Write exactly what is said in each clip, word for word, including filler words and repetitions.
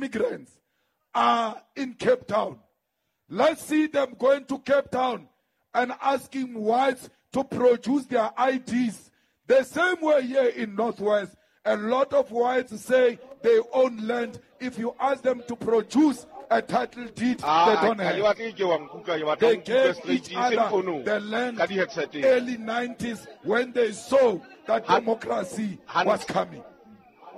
immigrants are in Cape Town. Let's see them going to Cape Town and asking whites to produce their I Ds. The same way here in Northwest, a lot of whites say they own land. If you ask them to produce a title deed, Ah, they don't ha have. ke batle ke wa nkutlwa, ke batla They ho nkutlwa gave straight, each e seng other founung, the land ka di-headset-eng. early nineties when they saw that Ha- democracy Hantle. was coming.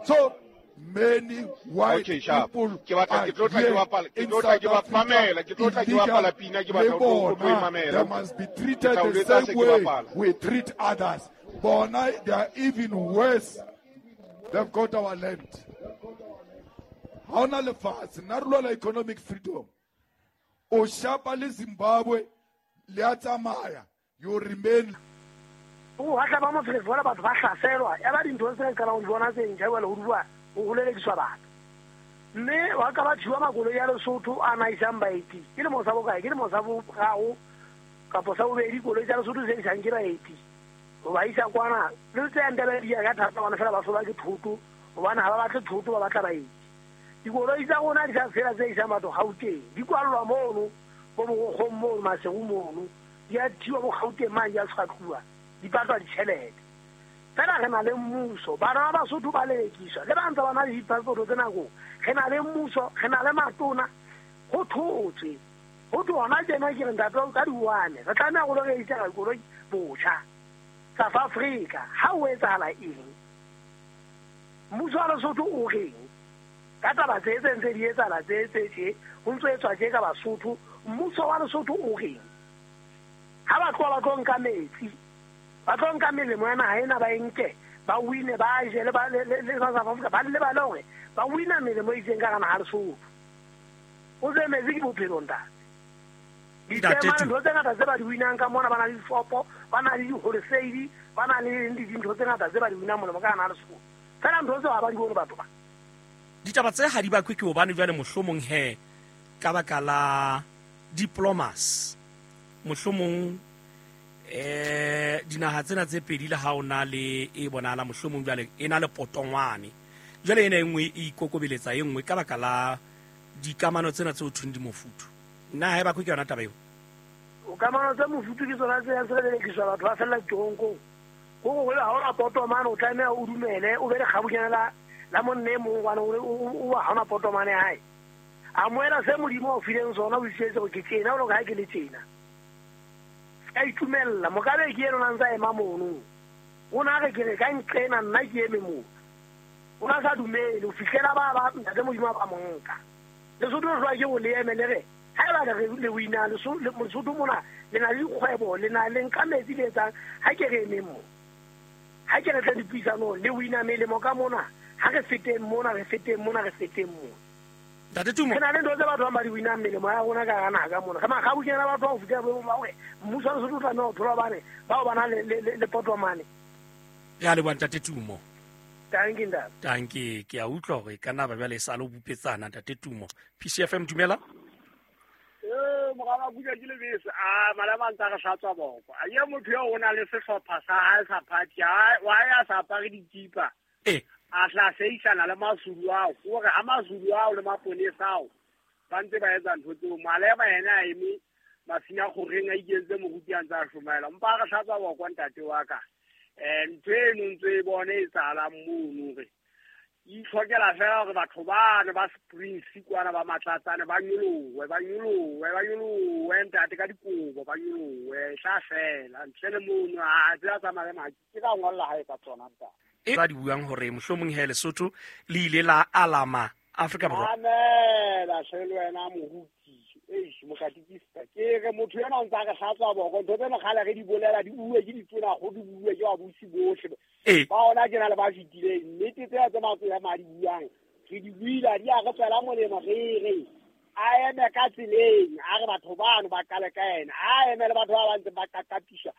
So many white Okay, sharp. people Ke batla are ke tlo tla ke here bapala, ke in tlo tla ke South ba Africa mamela, ke tlo tla ke illegal. bapala pina, ke batla Le ho tlo- ho tlo e bona, mamela. they must be treated Ke tla o the jwetsa same se ke way bapala. we treat others. Bona, they are even worse. They've got our land. Ha hona lefatshe, nna re lwela economic freedom. O shapa le Zimbabwe, le a tsamaya, you remain. O hatla ba mofela bona batho ba hlaselwa. Ya ba dintho tse re qalang ho di bona tse ntjha jwale ho bua, ho holelekiswa batho. Mme wa ka ba thiwa makoloi a Lesotho a na isang baeti. Ke lemo sa bokae? Ke lemo sa boraro kapa sa bobedi koloi tsa Lesotho tse isang ke baeti. Ho ba isa kwana, le tse yang Ndebele di ya ka thata hobane fela ba soba ke thoto, hobane ha ba batle thoto, ba batla baeti. Dikoloi tsa rona di sa fela tse isang batho Gauteng, di kwallwa mono, bo Borokgong mono, Maseru mono, di a thiwa bo Gauteng mane, di a tshwatluwa, di patlwa ditjhelete. Fela re na le mmuso, bana ba Basotho ba lelekiswa, le ba ntse ba na le di-passport tse nakong. Re na le mmuso, re na le matona, ho thotswe. Ho thwe hona tjena ke re ntate wa ka di-one, re tlameha ho lo register dikoloi botjha. South Africa, ha ho etsahala eng? Mmuso wa Lesotho o reng? Ka taba tse tse ntse di etsahala tse tse tje, ho ntso etswa tje ka Basotho, mmuso wa Lesotho o reng? Ha ba tloha ba tlo nka metsi, ba tlo nka melemo ya naha ena ba e nke, ba wine, ba je le ba, le, le, le South Africa, ba lebale hore ba wina melemo e itseng ka hara naha ya Lesotho. O tsebe metsi ke bophelo, ntate. Ntate Ditema, Tu. ntho tse ngata tse ba di winang ka mona, ba na le dishopo, ba na le di-wholesale, ba na le dintho tse ngata tse ba di winang molemo ka hara naha ya Lesotho. Fela ntho tseo ha ba di bone batho ba. Ditaba tse ha di bakwe ke hobane jwale mohlomong he ka baka la diplomas, mohlomong, eh, dinaha tsena tse pedi le ha o na le e bonahala mohlomong jwale e na le potongwane, jwale ena e nngwe e ikokobeletsa e nngwe ka baka la dikamano tsena tse ho thweng di mofuthu. Nna ha e bakwe ke yona taba eo. O kamano tse mofuthu ke tsona tse yang tse lelekiswa batho ba fella diteronkong. Ho re ha o na potomane o tlameha o dumele, o be le kgabunyana la, la monna e mong hobane o, o, o, o ha hona potomane ya hae. Amohela se Modimo a o fileng sona, o itjwetse hore ke tjena, o lo ka ha ke le tjena. Ka itumella, Mugabe ke ena o ntse a ema mono. O na re ke re ka nqena nna ke eme moo. O na sa dumele ho fihlela ba ba ntate Modimo a ba mo nka. Lesotho le jwang ke o le eme le re, haeba le re le wina Lesotho, le Lesotho mona le na le dikgwebo, le na le nka metsi le etsang, ha ke re emeng mo. Ha ke re tle dipuisanong, le wina melemo ka mona, ha re feteng mona, re feteng mona, re feteng mona. Ntate Tumo. Re na le ntho tse batho ba ba di winang melemo ya rona ka hara naha ka mona. Re makgabunyana batho ba ho fihlela boemong ba hore mmuso wa Lesotho o tlameha ho thola hobane bao ba na le, le, le, le potomane. Re a leboha Ntate Tumo. Tanki, ntate. Tanki, ke a utlwa hore e ka nna ba jwale e sa le ho bupetsana, Ntate Tumo. P C F M, dumela. Eh, moraba Buja ke lebese. Ah, malema a ntse a re hlatswa boko. A ye motho eo o na le sehlopha sa hae sa party, ha, wa ya sa apare dikipa. Eh. A tla seisana le Mazulu ao, hore ha Mazulu ao le maponesa ao ba ntse ba etsa ntho tseo, Malema yena a eme mafina kgoreng a ikentse moruti a ntse a hlomaela. Mpa a re hlatswa boko ntate wa ka. Eh, ntho eno ntse e bone e etsahalang mono re itlhokela fela hore batho bane ba Springs kwana ba Matlatsane ba nyolohe, ba nyolohe, ba nyolohe ntate ka dikobo, ba nyolohe, e tla fela. Ntle le mono, ha tsela tsa Malema, ke ka ngolla hae ka tsona ntate. E ba di buang hore mohlomong he Lesotho le ile la alama Afrika Borwa. Mamela hle le wena moruti. Eish, mokatikista. Ke re motho ena o ntse a re hlatswa boko. Ntho tsena kgale re di bolela, di bue ke ditona, go di bue ke babusi bohle. Ee. Ba ona ke na le ba fetileng. Nnete tsena tse matlo ya madi buang, re di buile, di a re tswela molemo, re re a eme ka tseleng, a re batho bano ba qale ka ena, a eme le batho ba ba ntseng ba qaqatiswa,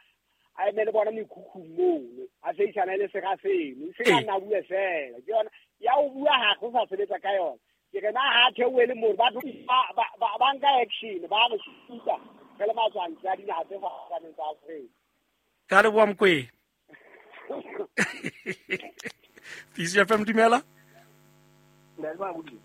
a eme le bona mekhukhung mono, a seisana le sera seno, se ka Ee. nna bue fela. Ke yona ya ho bua ha go sa sebetsa ka yona. Ke re na ha theohe le moo, batho ba, ba, ba, ba nka action, ba re suta re le matswantle a dinaha tse fapaneng tsa Afrika. Ka leboha Mokoena. P C F M, dumela. Ntate Mabudi.